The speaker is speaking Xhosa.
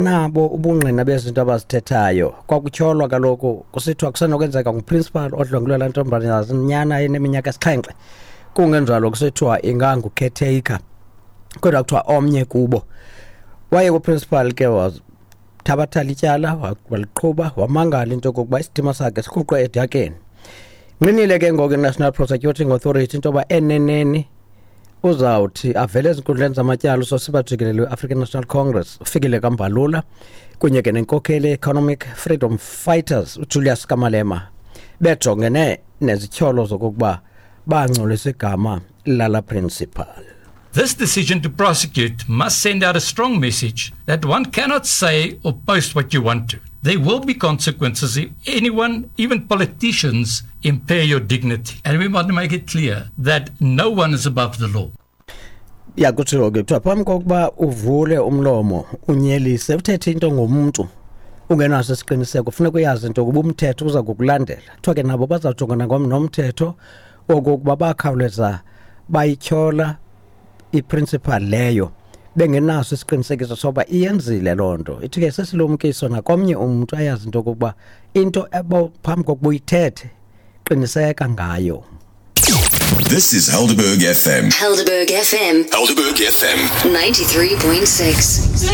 Nabo ubungqina bezinto abazithethayo. Kwakutyholwa kaloku kusithiwa kusenokwenzeka nguprincipal odlwengulwe laa ntombazanyana eneminyaka esixhenxe, kungenjalo kusithiwa ingangucaretaker, kodwa kuthiwa omnye kubo. Waye kuprincipal ke wathabatha ityala, waliqhuba, wamangala into yokokuba isidima sakhe sirhuqwe edakeni. Nqinile ke ngoku i-National Prosecuting Authority into yoba eneneni uzawuthi avele ezinkundleni zamatyala usosiba jikelele we-African National Congress uFikile kaMbalula kunye ke nenkokheli ye-Economic Freedom Fighters uJulius Kamalema, bejongene nezityholo zokokuba bangcolisa igama lala principal. This decision to prosecute must send out a strong message that one cannot say or post what you want to. There will be consequences if anyone, even politicians, impair your dignity. And we want to make it clear that no one is above the law. Ya, kutshiwo ke, kuthiwa phambi kokuba uvule umlomo unyelise, uthethe into ngomntu ungenaso isiqiniseko, funeka uyazi into yokuba umthetho uza kukulandela. Kuthiwa ke nabo bazawujongana nomthetho okokuba bakhawuleza bayityhola iprincipal leyo bengenaso isiqinisekiso soba iyenzile loo nto. Ithi ke sesilumkiso nakomnye umntu, ayazi into yokokuba into phambi kokuba uyithethe, qiniseka ngayo. This is Helderberg FM. Helderberg FM. Helderberg FM. 93.6.